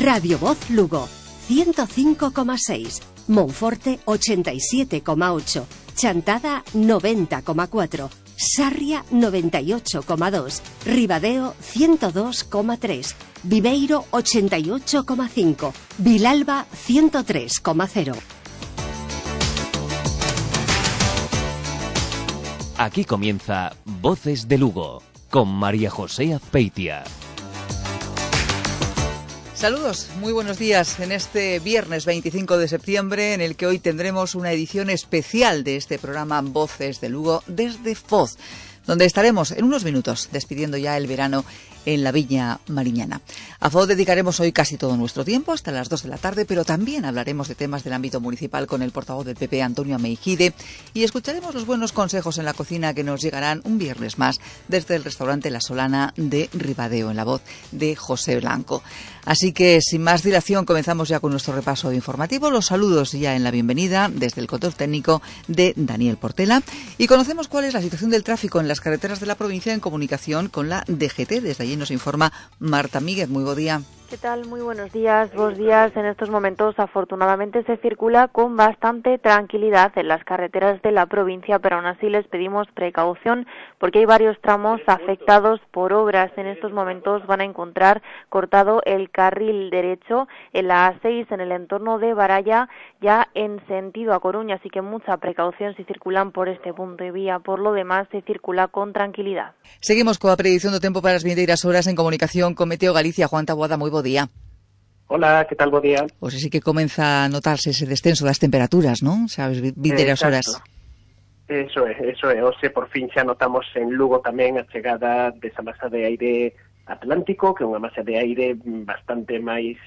Radio Voz Lugo 105,6, Monforte 87,8, Chantada 90,4, Sarria 98,2, Ribadeo 102,3, Viveiro 88,5, Vilalba 103,0. Aquí comienza Voces de Lugo con María José Azpeitia. Saludos, muy buenos días en este viernes 25 de septiembre en el que hoy tendremos una edición especial de este programa Voces de Lugo desde Foz, donde estaremos en unos minutos despidiendo ya el verano en la Viña Mariñana. A Foz dedicaremos hoy casi todo nuestro tiempo, hasta las 2 de la tarde, pero también hablaremos de temas del ámbito municipal con el portavoz del PP, Antonio Ameijide, y escucharemos los buenos consejos en la cocina que nos llegarán un viernes más desde el restaurante La Solana de Ribadeo, en la voz de José Blanco. Así que, sin más dilación, comenzamos ya con nuestro repaso informativo. Los saludos ya en la bienvenida desde el control técnico de Daniel Portela, y conocemos cuál es la situación del tráfico en las carreteras de la provincia en comunicación con la DGT. Desde allí nos informa Marta Míguez. Muy buen día. ¿Qué tal? Muy buenos días. Buenos días. En estos momentos, afortunadamente, se circula con bastante tranquilidad en las carreteras de la provincia, pero aún así les pedimos precaución porque hay varios tramos afectados por obras. En estos momentos van a encontrar cortado el carril derecho en la A6 en el entorno de Baralla, ya en sentido a Coruña, así que mucha precaución si circulan por este punto de vía. Por lo demás, se circula con tranquilidad. Seguimos con la predicción do tempo para as vindeiras horas en comunicación con Meteo Galicia. Juan Taboada, moi bo día. Hola, que tal, bo día? Pois así que comeza a notarse ese descenso das temperaturas, non? Sabes, vindeiras horas. Eso é. Hoxe, por fin, xa notamos en Lugo tamén a chegada desa masa de aire atlántico, que é unha masa de aire bastante máis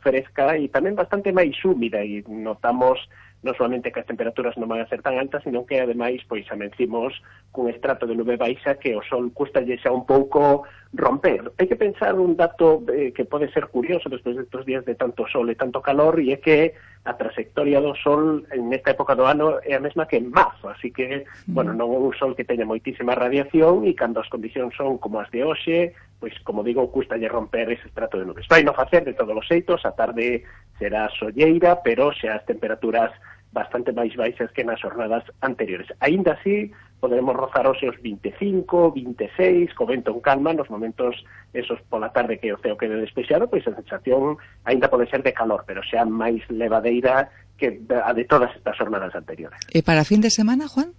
fresca e tamén bastante máis húmida, e notamos non solamente que as temperaturas non van a ser tan altas, sino que ademais pois amencimos cun estrato de nube baixa que o sol custalle xa un pouco romper. Hai que pensar un dato que pode ser curioso despois destes días de tanto sol e tanto calor, e é que a trayectoria do sol en esta época do ano é a mesma que en marzo, así que, bueno, non é un sol que teña moitísima radiación, e cando as condicións son como as de hoxe, pois, como digo, custalle romper ese estrato de nubes. Vai non facer de todos os xeitos, a tarde será solleira, pero xa as temperaturas bastante máis baixas que nas jornadas anteriores. Aínda así, poderemos rozar hoxe os 25, 26, co vento en calma, nos momentos esos pola tarde que o ceo quede despexado, pois a sensación aínda pode ser de calor, pero xa máis levadeira que a de todas estas jornadas anteriores. E para fin de semana, Juan?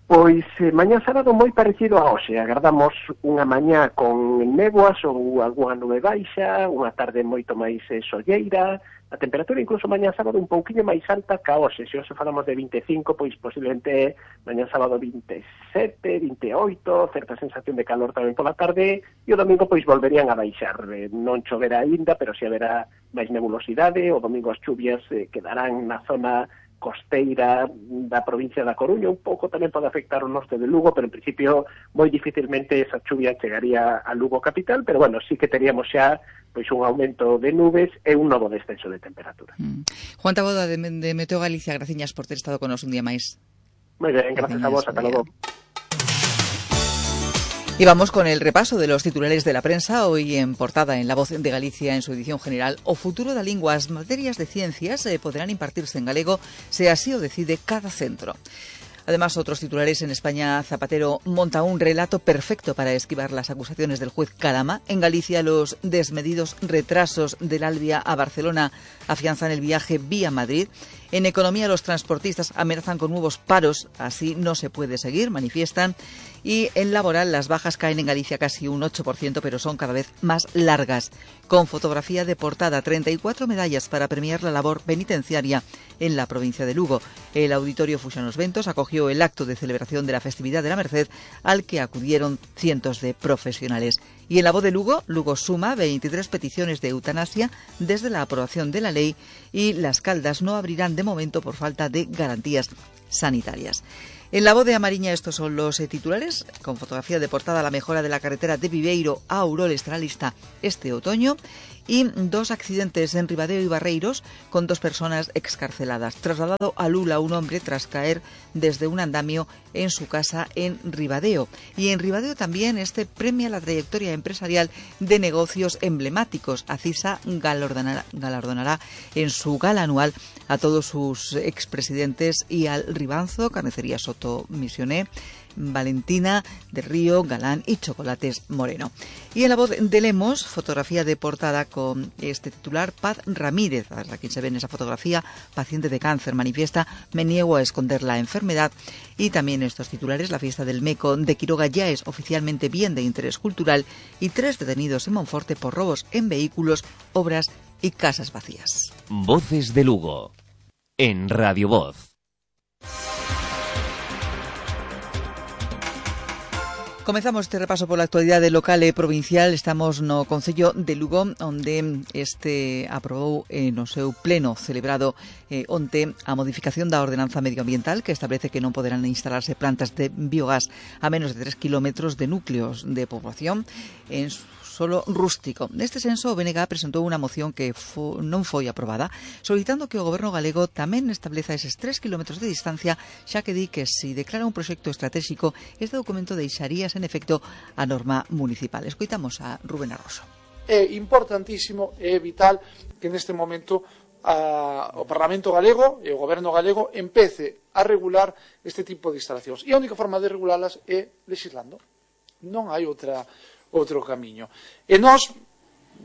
Pois mañá sábado moi parecido a hoxe. Agardamos unha mañá con néboas ou algunha nube baixa, unha tarde moito máis solleira. A temperatura incluso mañá sábado un pouquiño máis alta que a hoxe. Se hoxe falamos de 25, pois posiblemente mañá sábado 27, 28, certa sensación de calor tamén pola tarde, e o domingo pois volverían a baixar. Non choverá aínda, pero si haberá máis nebulosidade. O domingo as chuvias quedarán na zona costeira da provincia da Coruña, un pouco tamén pode afectar o norte de Lugo, pero en principio moi dificilmente esa chuvia chegaría a Lugo capital, pero bueno, sí que teríamos xa pois un aumento de nubes e un novo descenso de temperatura. Juan Taboada de Meteo Galicia, graciñas por ter estado con nos un día máis. Moi ben, gracias a vos, ata logo. Y vamos con el repaso de los titulares de la prensa. Hoy en portada en La Voz de Galicia, en su edición general, o futuro da lingua, as materias de ciencias podrán impartirse en galego se así o decide cada centro. Además, otros titulares en España, Zapatero monta un relato perfecto para esquivar las acusaciones del juez Calama. En Galicia, los desmedidos retrasos del Albia a Barcelona afianzan el viaje vía Madrid. En economía, los transportistas amenazan con nuevos paros. Así no se puede seguir, manifiestan. Y en laboral, las bajas caen en Galicia casi un 8%, pero son cada vez más largas. Con fotografía de portada, 34 medallas para premiar la labor penitenciaria en la provincia de Lugo. El Auditorio Fuxanos Ventos acogió el acto de celebración de la festividad de la Merced, al que acudieron cientos de profesionales. Y en La Voz de Lugo, Lugo suma 23 peticiones de eutanasia desde la aprobación de la ley, y Las Caldas no abrirán de momento por falta de garantías sanitarias. En La Voz de A Mariña estos son los titulares, con fotografía de portada la mejora de la carretera de Viveiro a Ourol estará lista este otoño, y 2 accidentes en Ribadeo y Barreiros con 2 personas excarceladas. Trasladado a Lula un hombre tras caer desde un andamio en su casa en Ribadeo. Y en Ribadeo también premia la trayectoria empresarial de negocios emblemáticos. Acisa galardonará en su gala anual a todos sus expresidentes y al Ribanzo, Carnicería Soto Misioné, Valentina del Río, Galán y Chocolates Moreno. Y en La Voz de Lemos, fotografía de portada con este titular: Paz Ramírez, a quien se ve en esa fotografía, paciente de cáncer, manifiesta: me niego a esconder la enfermedad. Y también estos titulares: la fiesta del Meco de Quiroga ya es oficialmente bien de interés cultural, y 3 detenidos en Monforte por robos en vehículos, obras y casas vacías. Voces de Lugo, en Radio Voz. Comezamos este repaso por la actualidade local e provincial. Estamos no Concello de Lugo, onde aprobou no seu pleno celebrado onte a modificación da ordenanza medioambiental, que establece que non poderán instalarse plantas de biogás a menos de 3 kilómetros de núcleos de poboación en solo rústico. Neste senso, o BNG presentou unha moción que non foi aprobada, solicitando que o Goberno galego tamén estableza eses 3 kilómetros de distancia, xa que di que se declara un proxecto estratégico, este documento deixaría sen efecto a norma municipal. Escoitamos a Rubén Arroso. É importantísimo e vital que neste momento o Parlamento galego e o Goberno galego empece a regular este tipo de instalacións. E a única forma de regulalas é legislando. Non hai outro camiño. E nós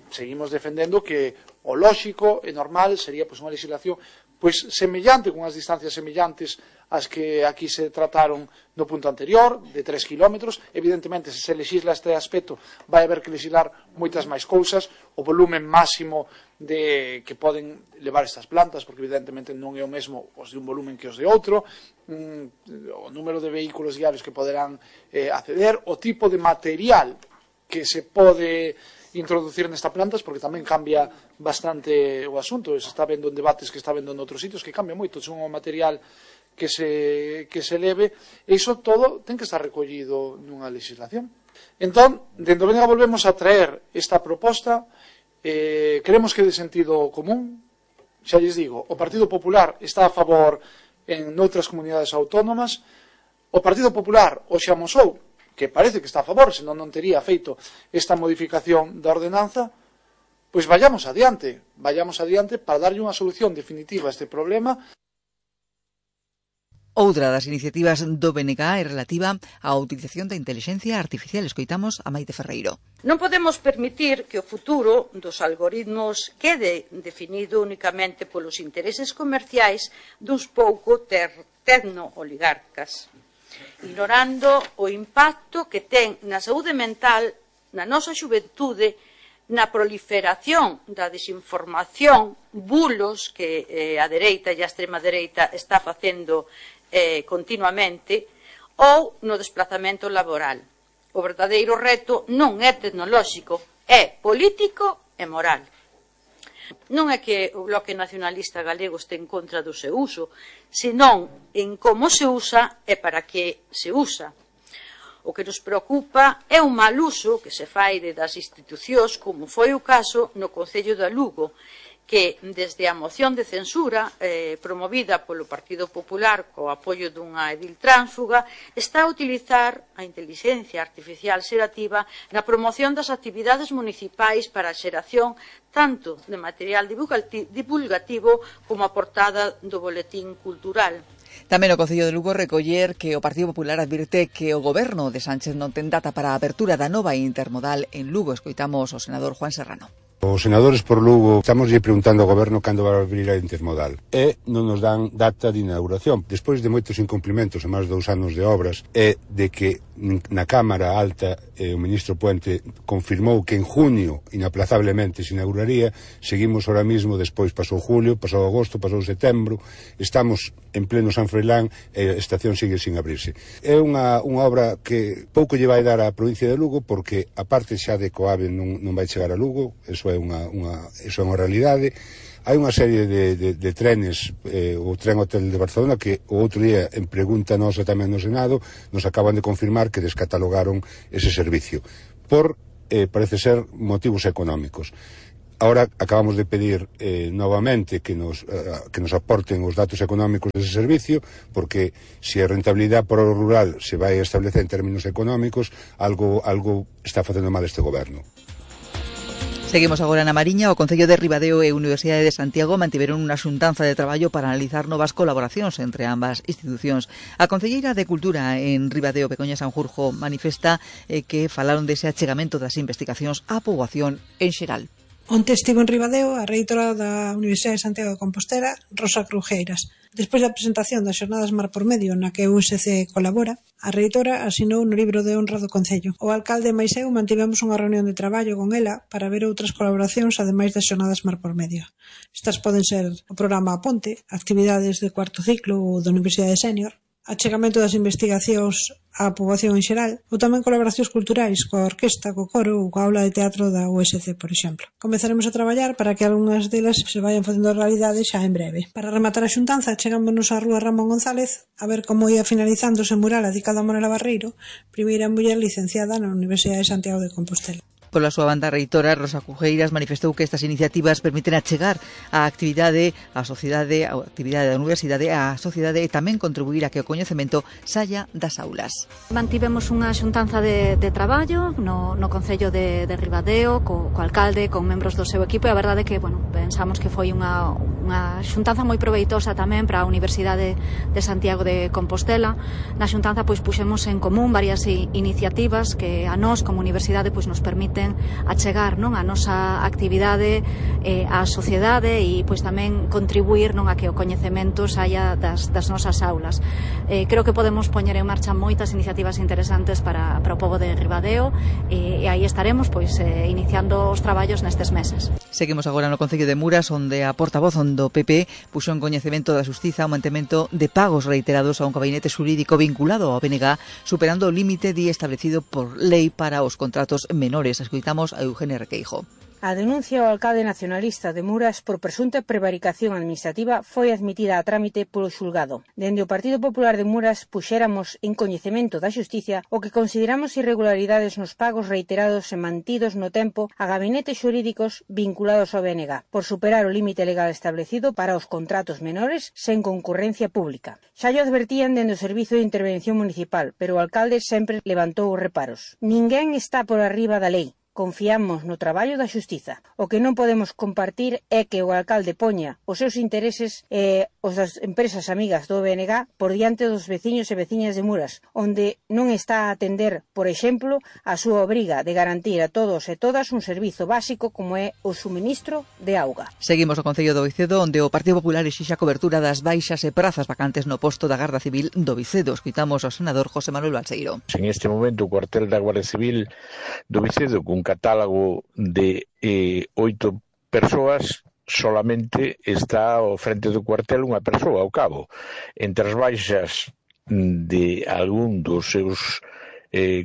seguimos defendendo que o lóxico e normal sería unha legislación semellante, con as distancias semellantes as que aquí se trataron no punto anterior, de 3 kilómetros. Evidentemente, se legisla este aspecto, vai haber que legislar moitas máis cousas, o volumen máximo que poden levar estas plantas, porque evidentemente non é o mesmo os de un volumen que os de outro, o número de vehículos diarios que poderán acceder, o tipo de material que se pode introducir nesta plantas, porque tamén cambia bastante o asunto. Se está vendo en debates que está vendo en outros sitios, que cambia moito, son o material que se leve, e iso todo ten que estar recollido nunha legislación. Entón, dentro do BNG volvemos a traer esta proposta, creemos que é de sentido común. Xa lles digo, o Partido Popular está a favor en outras comunidades autónomas, o Partido Popular o xa amosou, que parece que está a favor, senón non tería feito esta modificación da ordenanza. Pois vayamos adiante para darlle unha solución definitiva a este problema. Outra das iniciativas do BNG é relativa á utilización da intelixencia artificial. Escoitamos a Maite Ferreiro. Non podemos permitir que o futuro dos algoritmos quede definido únicamente polos intereses comerciais duns pouco tecno-oligarcas, ignorando o impacto que ten na saúde mental, na nosa xuventude, na proliferación da desinformación, bulos que a dereita e a extrema dereita está facendo continuamente, ou no desplazamento laboral. O verdadeiro reto non é tecnolóxico, é político e moral. Non é que o Bloque Nacionalista Galego este en contra do seu uso, senón en como se usa e para que se usa. O que nos preocupa é o mal uso que se fai das institucións, como foi o caso no Concello de Lugo, que desde a moción de censura promovida polo Partido Popular co apoio dunha edil tránsfuga está a utilizar a intelixencia artificial xerativa na promoción das actividades municipais para a xeración tanto de material divulgativo como a portada do boletín cultural. Tamén o Concello de Lugo recoller que o Partido Popular advirte que o Goberno de Sánchez non ten data para a apertura da nova intermodal en Lugo. Escoitamos o senador Juan Serrano. Os senadores por Lugo estamos preguntando ao Goberno cando vai abrir a intermodal e non nos dan data de inauguración. Despois de moitos incumplimentos e máis de 2 anos de obras e de que na Cámara Alta o ministro Puente confirmou que en junio inaplazablemente se inauguraría, seguimos ahora mismo, despois pasou julio, pasou agosto, pasou setembro, estamos en pleno San Froilán e a estación sigue sin abrirse. É unha obra que pouco lle vai dar á provincia de Lugo porque a parte xa de Coave non vai chegar a Lugo, eso é unha realidade. Hai unha serie de trenes, o tren hotel de Barcelona, que o outro día, en pregunta nosa tamén no Senado, nos acaban de confirmar que descatalogaron ese servicio por, parece ser, motivos económicos. Ahora acabamos de pedir novamente que nos aporten os datos económicos dese servicio, porque se a rentabilidade para o rural se vai establecer en términos económicos, algo está facendo mal este goberno. Seguimos agora na Mariña. O Concello de Ribadeo e a Universidade de Santiago mantiveron unha xuntanza de traballo para analizar novas colaboracións entre ambas institucións. A Concelleira de Cultura en Ribadeo, Begoña Sanjurjo, manifesta que falaron dese achegamento das investigacións á poboación en xeral. Onte estivo en Ribadeo a reitora da Universidade de Santiago de Compostela, Rosa Crujeiras. Despois da presentación das xornadas Mar por Medio, na que o USC colabora, a reitora asinou no libro de honra do Concello. O alcalde mais eu mantivemos unha reunión de traballo con ela para ver outras colaboracións ademais das xornadas Mar por Medio. Estas poden ser o programa A Ponte, actividades de cuarto ciclo ou da Universidade Sénior, achegamento das investigacións á poboación en xeral, ou tamén colaboracións culturais coa orquesta, co coro ou coa aula de teatro da USC, por exemplo. Comezaremos a traballar para que algunhas delas se vayan facendo realidade xa en breve. Para rematar a xuntanza, chegámonos á rúa Ramón González a ver como ia finalizándose o mural dedicado a Monela Barreiro, primeira muller licenciada na Universidade de Santiago de Compostela. Pola súa banda, a reitora Rosa Crujeiras manifestou que estas iniciativas permiten achegar a actividade á sociedade, a actividade da universidade á sociedade e tamén contribuir a que o coñecemento saia das aulas. Mantivemos unha xuntanza de traballo no Concello de Ribadeo, co alcalde, con membros do seu equipo, e a verdade é que, pensamos que foi unha xuntanza moi proveitosa tamén para a Universidade de Santiago de Compostela. Na xuntanza puxemos en común varias iniciativas que a nós como universidade nos permiten achegar a nosa actividade á sociedade e tamén contribuir a que o coñecemento saia das nosas aulas. Creo que podemos poñer en marcha moitas iniciativas interesantes para o pobo de Ribadeo e aí estaremos iniciando os traballos nestes meses. Seguimos agora no Concello de Muras, onde a portavoz do PP puxo en coñecemento da Xustiza o mantemento de pagos reiterados a un gabinete xurídico vinculado ao BNG, superando o límite establecido por lei para os contratos menores. Escoitamos a Eugenia Requeijo. A denuncia ao alcalde nacionalista de Muras por presunta prevaricación administrativa foi admitida a trámite polo xulgado. Dende o Partido Popular de Muras puxéramos en coñecemento da Xustiza o que consideramos irregularidades nos pagos reiterados e mantidos no tempo a gabinetes xurídicos vinculados ao BNG, por superar o límite legal establecido para os contratos menores sen concurrencia pública. Xa llo advertían dende o Servizo de Intervención Municipal, pero o alcalde sempre levantou os reparos. Ninguén está por arriba da lei. Confiamos no traballo da Xustiza. O que non podemos compartir é que o alcalde poña os seus intereses e os das empresas amigas do BNG por diante dos veciños e veciñas de Muras, onde non está a atender, por exemplo, a súa obriga de garantir a todos e todas un servizo básico como é o suministro de auga. Seguimos o Concello do Vicedo, onde o Partido Popular exixe a cobertura das baixas e prazas vacantes no posto da Garda Civil do Vicedo. Escoitamos ao senador José Manuel Balseiro. En este momento o cuartel da Guardia Civil do Vicedo, cun catálogo de 8 persoas, solamente está ao frente do cuartel unha persoa ao cabo. Entre as baixas de algún dos seus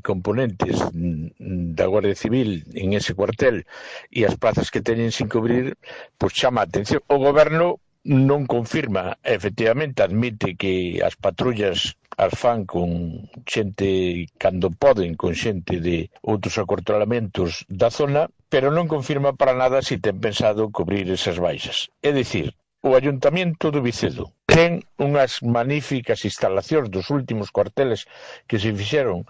componentes da Guardia Civil en ese cuartel e as plazas que teñen sin cubrir, pois chama a atención. O goberno non confirma, efectivamente, admite que as patrullas as fan con xente cando poden, con xente de outros acortalamentos da zona, pero non confirma para nada se ten pensado cubrir esas baixas. É dicir, o Ayuntamiento do Vicedo ten unhas magníficas instalacións dos últimos cuarteles que se fixeron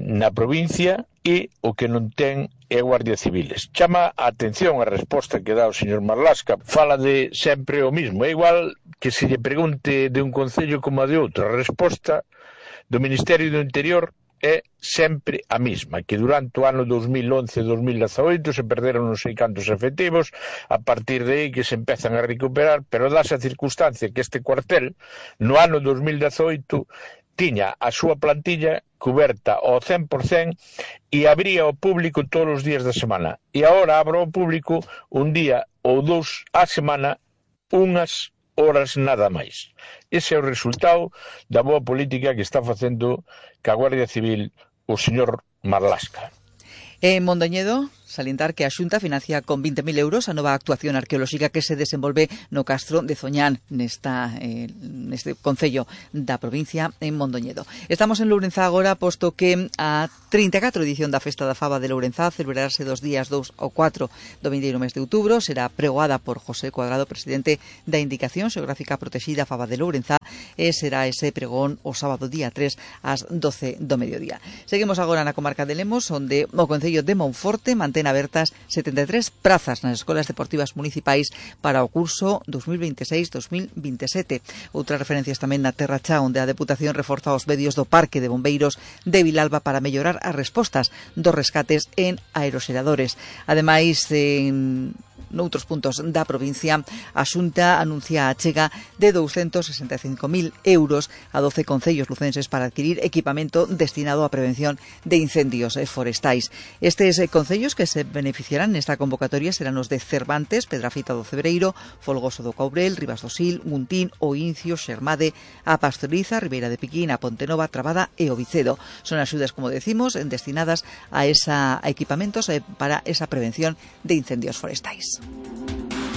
na provincia e o que non ten é Guardia Civiles. Chama a atención a resposta que dá o señor Marlasca. Fala de sempre o mismo. É igual que se lle pregunte de un concello como a de outro. A resposta do Ministerio do Interior é sempre a mesma, que durante o ano 2011-2018 se perderon non sei cantos efectivos, a partir de aí que se empezan a recuperar, pero dáse a circunstancia que este cuartel, no ano 2018, tiña a súa plantilla cuberta ao 100% e abría ao público todos os días da semana. E agora abro ao público un día ou dous á semana, unhas horas nada máis. Ese é o resultado da boa política que está facendo ca Guardia Civil o señor Marlasca. En Mondoñedo, salientar que a Xunta financia con 20.000 euros a nova actuación arqueolóxica que se desenvolve no Castro de Zoñán, neste concello da provincia en Mondoñedo. Estamos en Lourenzá agora, posto que a 34 edición da Festa da Faba de Lourenzá celebrarase dos días 2 ao 4 do vindeiro mes de outubro. Será pregoada por José Cuadrado, presidente da Indicación Xeográfica Protexida Faba de Lourenzá, e será ese pregón o sábado día 3 ás 12 do mediodía. Seguimos agora na comarca de Lemos, onde o concello de Monforte mantén abertas 73 prazas nas escolas deportivas municipais para o curso 2026-2027. Outras referencias tamén na Terra Chá, onde a Deputación reforza os medios do Parque de Bombeiros de Vilalba para mellorar as respostas dos rescates en aeroxeradores. Ademais, noutros puntos da provincia, a Xunta anuncia a achega de 265.000 euros a 12 concellos lucenses para adquirir equipamento destinado á prevención de incendios forestais. Estes concellos que se beneficiarán nesta convocatoria serán os de Cervantes, Pedrafita do Cebreiro, Folgoso do Courel, Ribas do Sil, Guntín, O Incio, Xermade, a Pastoriza, Ribeira de Piquín, a Pontenova, Trabada e o Vicedo. Son axudas, como decimos, destinadas a equipamentos para esa prevención de incendios forestais.